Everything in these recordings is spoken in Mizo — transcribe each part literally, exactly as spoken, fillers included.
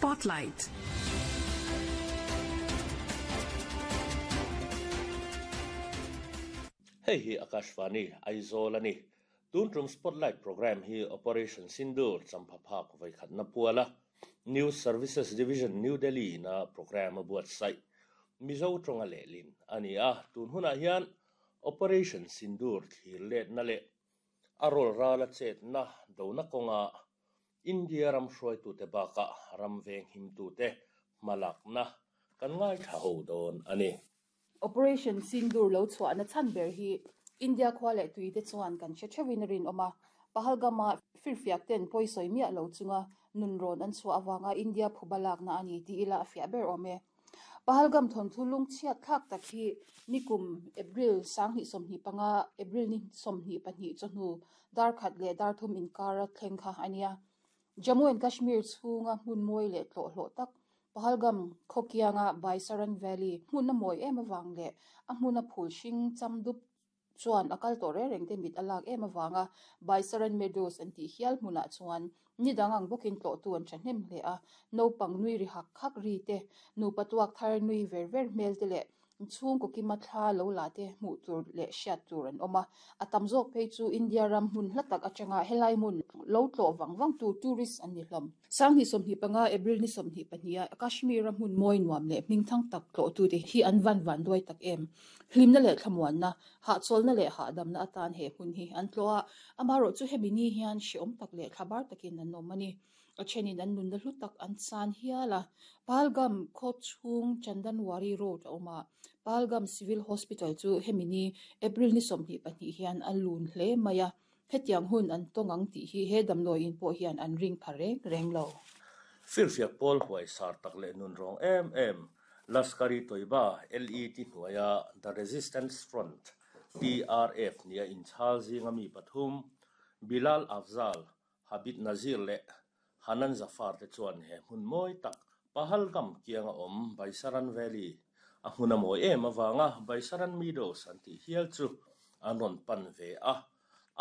Spotlight. Hei hi Akashvani Aizawl ani tun tum Spotlight program hi Operation Sindoor champhaphak vaikhatna puala News Services Division New Delhi na program a buatsaih Mizo tonga lehlin ani a tun hunah hian Operation Sindoor thlir let na leh a rawl rala chet na dona kawnga India ram hruaitu te bakah ram veng him tu te hmalak na kan ngai tha ho dawn ani. Operation Sindoor lo chhuah na chan ber hi India khua leh tui te chuan kan hre theuhin a rin awm a Pahalgam-a firfiak ten pawisawi miah lo chunga nun rawn an chhuah awanga India phuba lakna ani tih ila a fiah ber awm e. Pahalgam thawnthu lung chhiat thlak tak hi nikum April sanghnih sawmhnih panga April ni sawmhnih pahnih chawhnu dar khat leh dar thum inkar a thleng kha ania. Jammu and Kashmir chhunga hmun mawi leh tlawh hlawh tak Pahalgam khawkianga Baisaran Valley hmun a mawi em awang leh a hmun a phul hring cham dup chuan a kal tawh reng reng te mit a lak em awanga Baisaran Meadows an tih hial hmunah chuan ni dang ang bawkin tlawh tu an thahnem hle a naupang nui ri hak hak ri te nupa tuak thar nui ver ver hmel te leh chhung kaw kima thla lo la te hmuh tur leh hriat tur an awm a a tam zawk phei chu India ram hmun hla tak atanga helai hmun lo tlawh wang wang tu tourist an ni hlawm. Sanghnih sawmhnih panga April ni sawmhnih pahnih a Kashmir a hmun mawi nuam leh hming thang tak tlawh tu te hi an van van duai tak em. Hlimna leh thlamuanna hahchawlna leh hahdamna atan he hmun hi an tlawh a amaherawh chu hemi ni hian hreawm tak leh thlabar takin an awm ani. A thenin an nunna hlu tak an chan hial a Pahalgam khaw chhung Chandanwari Road a awm a Pahalgam Civil Hospital chu hemi ni April ni sawmhnih pahnih hian a lun hle mai a hetiang hun an tawng ang tih hi he damdawi in pawh hian an ring pha reng reng lo. Firfiak pawl huai sar tak leh nun rawng em em Lashkar-e-Toiba L E T hnuaia The Resistance Front T R F nia inchhal zinga mi pathum Bilal Afzal Habib Nazir leh Hanan Zafar te chuan he hmun mawi tak Pahalgam kianga awm Baisaran Valley a hmun a mawi em awanga Baisaran Meadows an tih hial chu an rawn pan ve a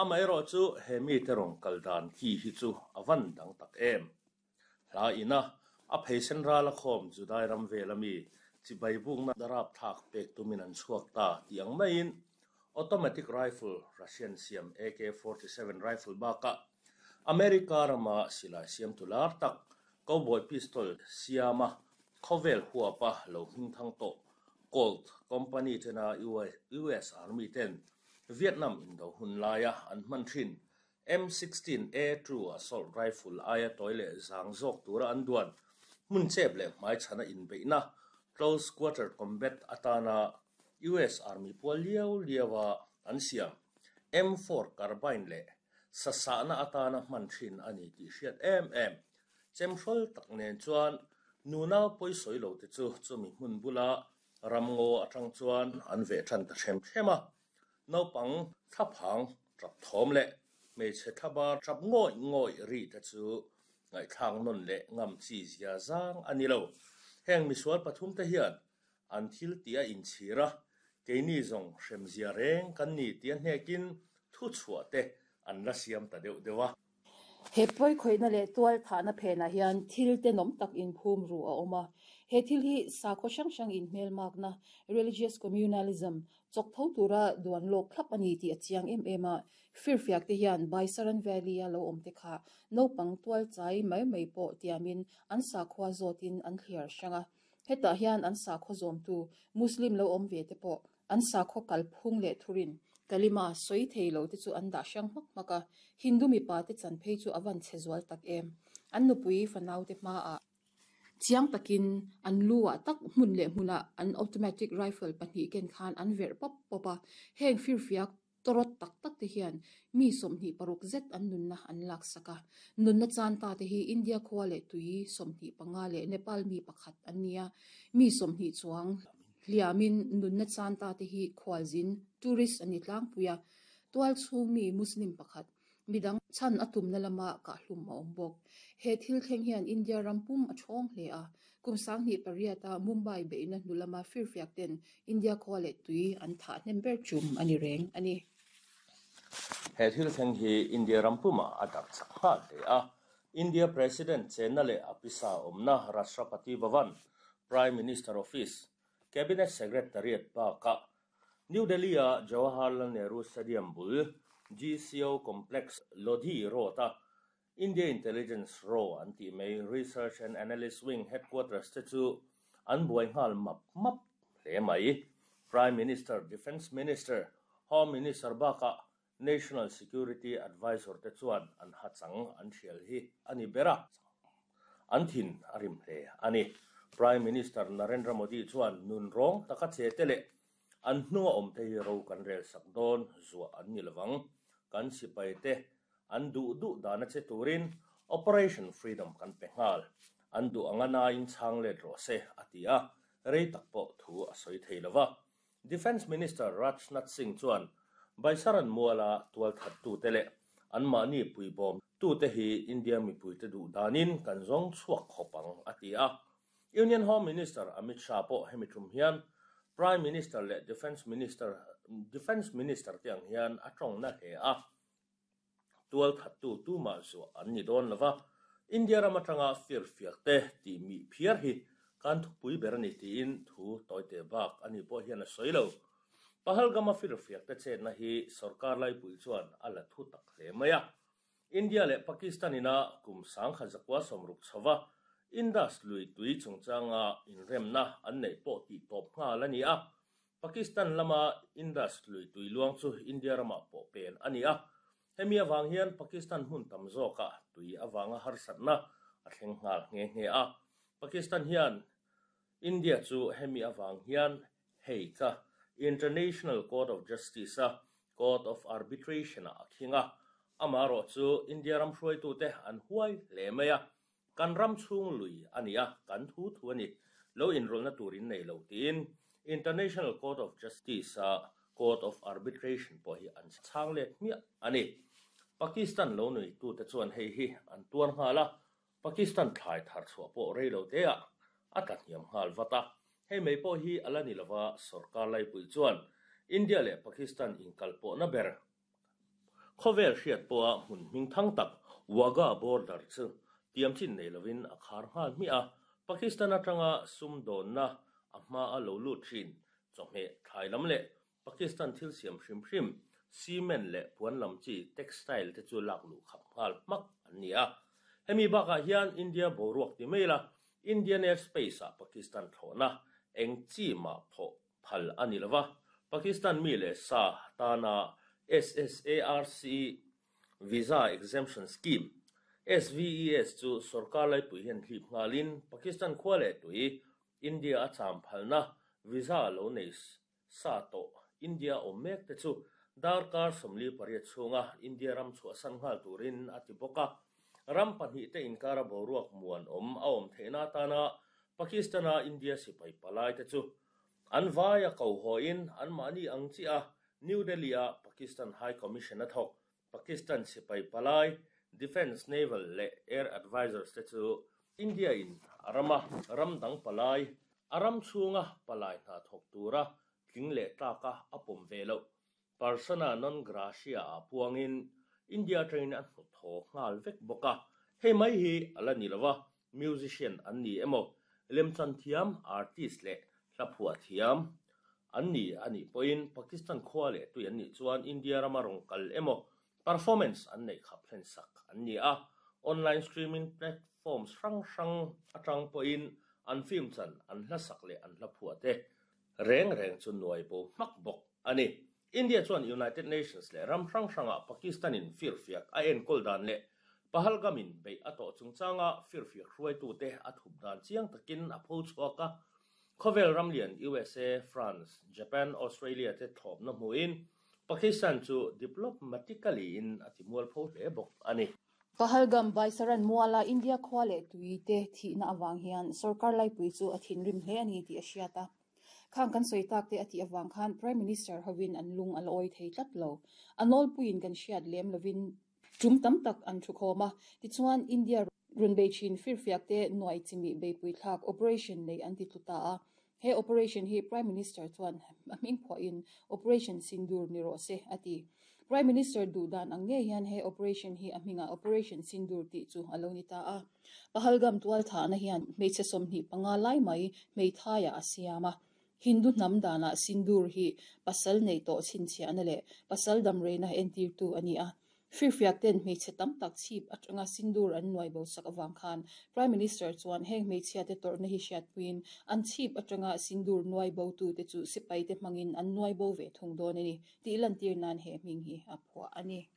amaherawh chu he mi te rawn kal dan ki hi chu a van dang tak em. Hla ina a pheisen ral a khawm Judai ram vel ami chibai bukna darap thak pek tumin an chhuak ta tih ang maiin automatic rifle Russian siam A K forty-seven rifle baka America rama silai siam tular tak cowboy pistol siama khawvel huapa lo hming thang tawh Colt company tena U S Army ten Vietnam indo hun laia an hman thin M sixteen A two assault rifle aia toy leh zang zawk tura an duan hmun chep leh hmai chhana inbeihna close quarter combat atana U S Army pual liau liawa an siam M four carbine leh sasana atana hman thin ani tih hriat em em chemhrol tak nen chuan nunau pawisawi lo te chu chumi hmun bula ramngaw atang chuan an veh than ta hrem hrem a naupang thlaphang tap thawm leh hmeichhe thlaba tap ngawi ngawi ri te chu ngaihthlak nawn leh ngam chi zia zang ani lo. Heng misual pathum te hian an thil ti a inchhir a keini zawng hrem zia reng kan ni tia hnekin thu chhuah te an la siam ta deuh deuh a. He pawi khawihna leh tual thahna phenah hian thil te nawm tak inphum ru a awm a. He thil hi sakhaw hrang hrang inhmel makna religious communalism chawk tho tura duan lawk thlap ani tih a chiang em em a. Firfiak te hian Baisaran Valley a lo awm te kha naupang tual chai mai mai pawh tiamin an sakhua zawtin an thliar hrang a. Hetah hian an sakhaw zawmtu Muslim lo awm ve te pawh an sakhaw kalphung leh thurin kalima sawi thei lo te chu an dah hrang hmak hmak a. Hindu mipa te chan phei chu a van che zual tak em. An nupui fanau te hma a chiang takin an lu ah tak hmun leh hmunah an automatic rifle pahnih ken khan an verh pawp pawp a. Heng firfiak torot tak tak te hian mi sawmhnih paruk zet an nunna an lak sak a. Nunna chan ta te hi India khua leh tui sawmhnih panga leh Nepal mi pakhat an nia. Mi sawmhnih chuang hliamin nunna chan ta te hi khualzin tourist ani tlangpui a. Tual chhung mi Muslim pakhat midang chan a tumna lama kahlum a awm bawk. He thil thleng hian India ram pum a thawng hle a. Kum sanghnih pariat a Mumbai beihna hnu lama firfiak ten India khua leh tui an thah hnem ber tum ani reng ani. He thil thleng hi India ram puma a darh chak nghal hle a. India President chenna leh a pisa awmna Rashtrapati Bhavan, Prime Minister Office, Cabinet Secretariat bakah New Delhi-a Jawaharlal Nehru Stadium bul G C O Complex Lodhi Road-a India Intelligence Row an tih mai Research and Analyst Wing Headquarters te chu an buai nghal map map hle mai. Prime Minister, Defence Minister, Home Minister bakah National Security Advisor te chuan an hachang an thial hi ani bera an thin a rim hle ani. Prime Minister Narendra Modi chuan nun rawng taka che te leh an hnunga awm te hi ro kan rel sak dawn zuah an ni lovang kan sipai te an duh duh dana che turin Operation Freedom kan pe nghal an duh anga nain chang let rawh se a ti a rei tak pawh thu a sawi thei lova. Defence Minister Rajnath Singh chuan Baisaran Muala tual that tu te leh an mahni puibawm tu te hi India mipui te duh danin kan zawng chhuak khawp ang a ti a. Union Home Minister Amit Shah pawh hemi tum hian Prime Minister leh Defence Minister Defence Minister te ang hian a tawng na hle a. Tual that tu tu ma zu an ni dawn lova. India ram atanga fir fiak te ti mi phiar hi kan thupui ber ani tiin thu toite bak ani pawh hian a sawi lo. Pahalgam a fir fiak te chet na hi sarkar lai pui chuan a la thu tak hle mai a. India leh Pakistan ina kum sang kha zakwa somruk chawa Indus lui tui chungchanga inremna an nei pawh tih tawp nghal ani a. Pakistan lama Indus lui tui luang chu India rama pawh pen ani a. Hemi awang hian Pakistan hmun tam zawka tui awanga harsatna a thleng nghal nge nge a. Pakistan hian India chu hemi awang hian hei ka International Court of Justice a Court of Arbitration a khinga ama ro chu India ram hruai tu te an huai hle mai a. Kan ram chung lui ani a kan thu thu ani lo inrol na turin nei lo tin International Court of Justice a Court of Arbitration pawh hi an chang let hmiah ani. Pakistan lo nui tu te chuan hei hi an tuar nghala Pakistan thlai thar chhuah pawh rei lo te a a tla hniam nghal vata. Hei mai pawh hi ala ni lova sarkar lai pui chuan India leh Pakistan inkal pawh na ber khawvel hriat pawha hmun hming thang tak Wagah border chu tiam chin nei lovin a khar nghal hmiah a. Pakistan atanga sum dawnna a hma a lo lut thin chawhmeh thlai lam leh Pakistan thil siam hrim hrim cement leh puan lam chi textile te chu lak luh khap nghal hmak an ni a. Hemi bakah hian India boruak ti mai la Indian airspace a Pakistan thlawhna eng chi ma phaw phal ani lova. Pakistan mi leh sa tana S S A R C Visa Exemption Scheme S V E S chu sarkar lai pui hian hlip nghalin Pakistan khua leh tui India a cham phalna visa lo nei sa to India awm mek te chu darkar sawmli pariat chhunga India ram chhuah san nghal turin a ti bawk a. Ram pahnih te inkara boruak muan awm a awm theihna atana Pakistana India sipai palai te chu an vai a ko hoin an mahni ang chi a New Delhi a Pakistan High Commission a thawk Pakistan sipai palai Defence Naval leh Air Advisors te chu India in rama ram dang palai aram chhunga palai hna thawk tura tling leh tlaka a pawm ve lo persona non gratia a puangin India train an hmu thaw nghal vek bawk a. Hei mai hi ala ni lova musician an ni emaw lemchan thiam artist leh hla phuah thiam an ni ani pawhin Pakistan khua leh tui an nih chuan India rama rawng kal emaw performance an nei khap hlen sak an ni a. Online streaming platforms hrang hrang atang pawhin an film chan an hla sak leh an hla phuah te reng reng chu nuai bo hmak bawk ani. India chuan United Nations leh ram hrang hranga Pakistan in fir fiak a enkawl dan leh Pahalgam in bei a tawh chungchanga fir fiak hruai tu te a thup dan chiang takin a pho chhuak a. Khawvel ramlian U S A, France, Japan, Australia te thlawp na hmuin Pakistan chu diplomatically in a ti mual pho hle bawk ani. Pahalgam Baisaran Muala India khua leh tui te thihna awang hian sarkar lai pui chu a thinrim hle ani tih a hriat a. Khang kan sawi tak te a tih awang khan Prime Minister hovin an lung a la awi thei tlat lo. A nawl puiin kan hriat lem lovin tum tam tak an thu khawm a. Tichuan India run bei thin fir fiak te nuai chimi bei pui thlak operation nei an ti tluta a. He operation hi Prime Minister chuan a hming phuahin Operation Sindoor ni rawh se a ti. Prime Minister dudan ang nge hian he operation hi a hminga Operation Sindoor ti chu alo ni ta a. Pahalgam tual tha na hian hmeichhe sawmhnih panga lai mai hmeithai a siama. Hindu hnam dana Sindoor hi pasal nei to chhinchhiah na leh pasal dam reina entir tu ani a. Firfiak ten hmeichhe tam tak chhip atanga Sindoor an nuai bo sak awang khan Prime Minister chuan heng hmeichhia te tawrhna hi hriat puiin an chhip atanga Sindoor nuai bo tu te chu sipai te hmangin an nuai bo ve thung dawn ani tih lantir nan he hming hi a phuah ani.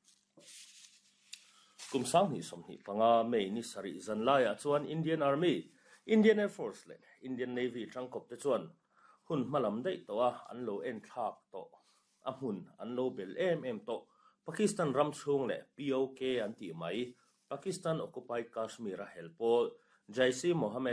Kum sang ni som ni panga May ni sari zan laia chuan Indian Army, Indian Air Force le Indian Navy tangkop te chuan hun hmalam dei to a an lo en thlak to a hmun an lo bel em em to Pakistan ram chung le P O K an ti mai Pakistan Occupied Kashmir a helpol Jaish Mohammed